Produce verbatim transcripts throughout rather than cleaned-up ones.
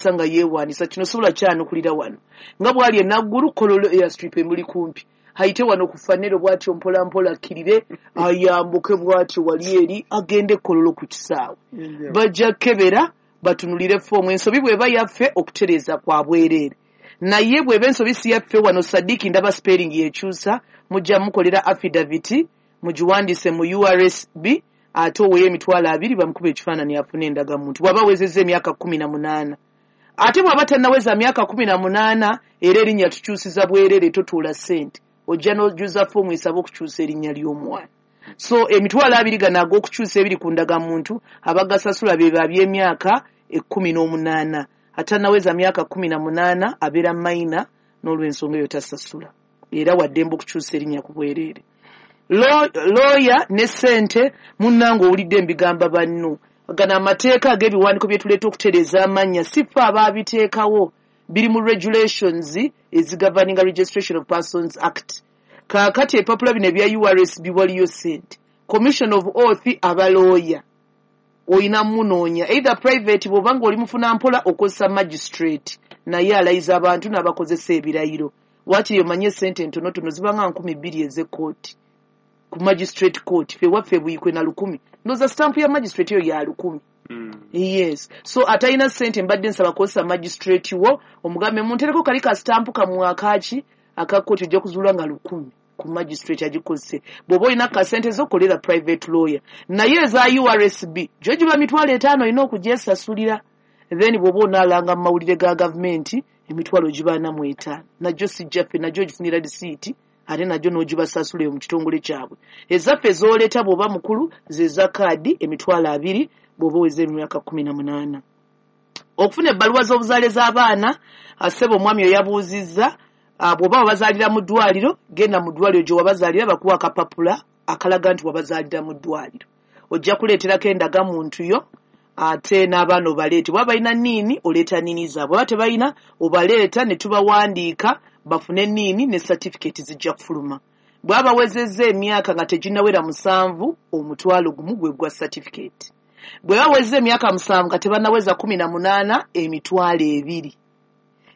Nga yeewaanisa kino sobola kyanukulira wano nga bw'ali e Naggulu, Kololo airstrip emuli kumpi, ayite wano ku Fanero bw'atyo mpola mpola, akkirire ayambuke bw'atyo wali eri agende Kololo ku kisaawe. Bajja kukebera batunulire foomu. Ensobi bw'eba yaffe, okutereeza kwa bwereere, naye bw'eba ensobi si yaffe, wano Sadiki ndaba spelling yekyusa, mujja mukolera affidavit, mugiwandiise mu U R S B, ate oweyo emitwalo abiri bamukuba ekifaananyi afune endagamuntu bw'aba awezezza emyaka kumi na munaana. Ate bw'aba tannaweza myaka kumi na munaana, era erinnya tukyusiza bwereere, totuula ssente, ojja n'ojuza foomu esaba okukyusa erinnya ly'omwana. So emitwalo abiri gano ag'okukyusa ebiri ku ndagamuntu, abagasasula be baby'emyaka ekkumi n'omunaana. Atannaweza myaka kumi na munaana abeera minor, n'olw'ensonga eyo tasasula, era waddembe okukyusa erinnya ku bwereere. Looya ne ssente, munnange, owulidde embigamba banno. Gano amateeka ag'ebiwandiiko bye tuleeta okutereeza amannya si ffe abaabiteekawo, biri mu regulations ezigoverninga Registration of Persons Act. Kaakati ebipapula bino ebya U R S B waliyo ssente. Commission of oath, abalooya oyina munoonya either private, bw'oba nga oli mufuna mpola okozesa magistrate, naye alayiza abantu n'abakozesa ebirayiro. Waakiri omanye essente entonotono zibanga nkumi bbiri ez'ekkooti ku magistrate court. Ffe waffe Buyikwe na lukumi, ndowooza stamp ya magistrate eyo ya lukumi. Mm. Yes, so atalina ssente, mbadde nsaba kozesa magistrate wo, omugambe muntereko kali ka stamp kamwe akaki aka kooti, ojja kuzuula nga lukumi ku magistrate agikozese. Bw'oba olina kasente zo, kolera private lawyer, naye eza U R S B gyo giba mitwalo etaano, olina okugyesasulira. Then bw'oba onaalanga mu mawulire ga gavumenti, emitwalo giba ana mu etaano, najjo sijjaffe, najjo ogifunira risiiti, ate najjo n'ogibasasula eyo mu kitongole kyabwe. Ezaffe z'oleeta bw'oba mukulu ze za kaadi, emitwalo abiri bw'oba oweza emyaka kumi na munaana. Okufuna ebbaluwa z'obuzaale z'abaana, asebo omwami oyo yabuuzizza, ah, bw'oba wabazaalira mu ddwaliro, genda mu ddwaliro gye wabazaalira bakuwa akapapula akalaga nti wabazaalira mu ddwaliro. Ojja kuleeterako endagamuntu yo, ate n'abaana obaleete. Bwaba balina NIN, oleeta NIN zaabwe, oba tebalina, obaleeta ne tubawandiika bafune NIN ne certificate zijja kufuluma. Bwaba bawezezza emyaka nga teginnawera musanvu, omutwalo gumu gwe gwa certificate. Bwe bawezza emyaka musanvu nga tebannaweza kumi na munaana, emitwalo ebiri.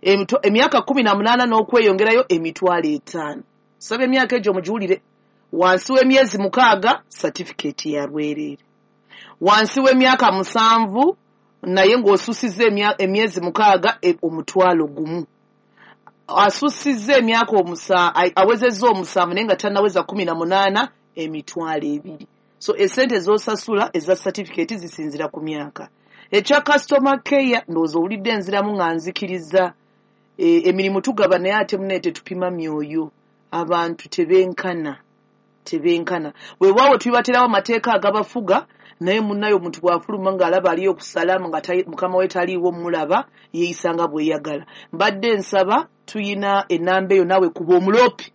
Emitwa- emyaka kumi na munaana n'okweyongerayo, emitwalo etaano. Saba emyaka egyo mugiwulire. Wansi w'emyezi mukaaga, certificate ya bwereere. Wansi w'emyaka musanvu naye ng'osusizza emya- emyezi mukaaga, e- omutwalo gumu. Asusizza emyaka omusa ai- awezezza omusanvu naye nga tannaweza kumi na munaana, emitwalo ebiri. So esente z'osasula eza certificate zisinzira ku myaka. Ekya customer care, ndowooza owulidde enziramu nga nzikiriza. e, emirimu tugaba, naye ate munaye tetupima myoyo, abantu tebenkana, tebenkana. Weewaawo tubibaterawo amateeka agabafuga, naye munnaye omuntu bw'afuluma ng'alaba aliyo okusalaamu nga tali- mukama we taliiwo mulaba yeeyisa nga bweyagala. Mbadde nsaba tuyina ennamba eyo, naawe kuba omuloope,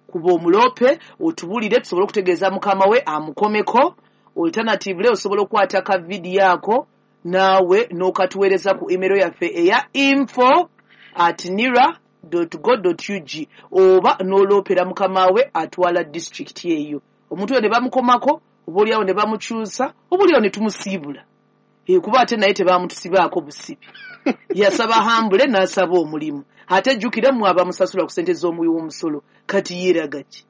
kuba omuloope otubulire tusobole okutegeeza mukama we amukomeko. Alternatively, osobola okukwata ka vidiyo ako naawe n'okatuweereza ku email yaffe eya info at nira go ug, oba n'oloopera mukama we atwala disitulikiti eyo. Omuntu oyo ne bamukomako, oba oliawo ne bamukyusa, oba oliawo ne tumusiibula. Eh, kuba ate naye tebamutusibaako busibi, yasaba hambule n'asaba omulimu. Ate jjukira mmwe abamusasula ku ssente z'omuwi w'omusolo, kati yeeraga ki?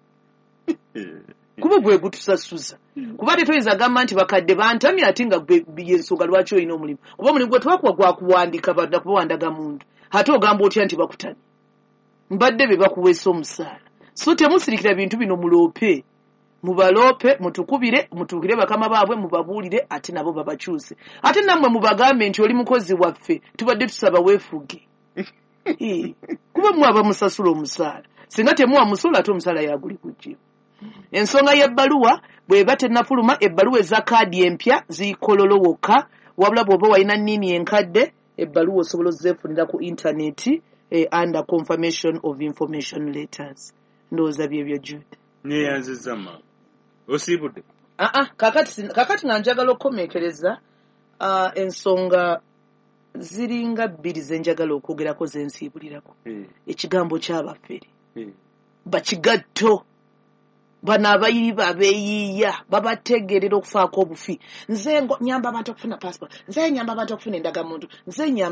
Kuba gwe gutusasuza, kuba ate toyinza gamba nti bakadde bantamye, ate nga gwe yensonga lwaki olina omulimu, kuba omulimu gwe twakuwa gwakuwandika nakuba wandaga muntu, ate ogamba otya nti bakutamye? Mbadde be bakuweesa omusaala. So temusirikira bintu bino, muloope, mubaloope, mutukubire, mutuukire bakama baabwe mubabuulire, ate nabo babakyuse. Ate nammwe mubagambe nti oli mukozi waffe, tubadde tusaba weefuge. Eh, kuba mmwe abamusasula omusaala, singa temuwa musolo, ate omusaala yaguli kujja. Ensonga y'ebbaluwa bw'eba tennafuluma, ebbaluwa eza kaadi empya ziikololo wokka, wabula bw'oba walina NIN enkadde, ebbaluwa osobola ozeefunira ku intaneti eh, under confirmation of information letters. Ndowooza byebyo, Jude. Neyanziza maama, osiibudde. Aa, kakati kakati nga njagala okukomekereza, uh, ensonga ziringa bbiri ze njagala okwogerako zensiibulirako. Eh, ekigambo kyabafere eh. bakigatto. Bano abayiba abeeyiiya babategeerera okufaako obufi. Nze nyamba abantu okufuna passport, nze nyamba abantu okufuna endagamuntu, nze nyamba.